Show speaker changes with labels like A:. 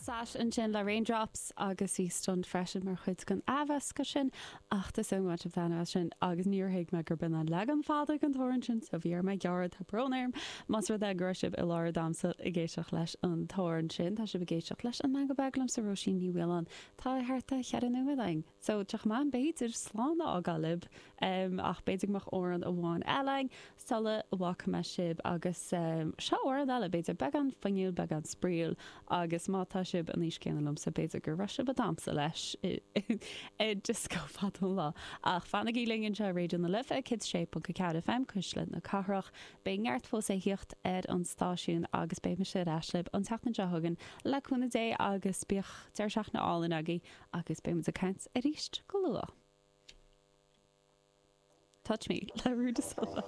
A: Sash ansin le Raindrops agus bhí Stunt freisin mar chuid den athmheascadh sin ach tá súil agam go mbain sibh taitneamh as sin agus níor thuig mé gurb in an leagan fada den t-amhrán sin so bhí orm é a ghearradh, tá brón orm más rud é go raibh sibh i lár damhsa ag éisteacht leis an t-amhrán sin. Tá sibh ag éisteacht leis An Meangadh Beag liomsa Róisín Ní Mhaoláin. Tá thart ar cheithre nóiméad againn so tá sé chomh maith b'fhéidir slán a fhágáil libh ach b'fhéidir go mbeadh amhrán amháin eile againn sula bhfágfaidh mé sibh agus seo amhrán eile, b'fhéidir beagán fuinniúil, beagán spraíúil agus má tá sibh an aois céanna liomsa b'fhéidir go raibh sibh ag damhsa leis i dioscó fadó an lá. Ach fanaigí linn anseo ar Raidió na Life 106.4 FM, Cuisle na Cathrach. Beidh neart fós a thíocht ar an stáisiún agus beidh mise ar ais libh an tseachtain seo chugainn le cúnamh Dé agus bíodh deireadh seachtaine álainn agaibh agus beidh muid ag caint arís go luath. Touch Me le Rui da Silva.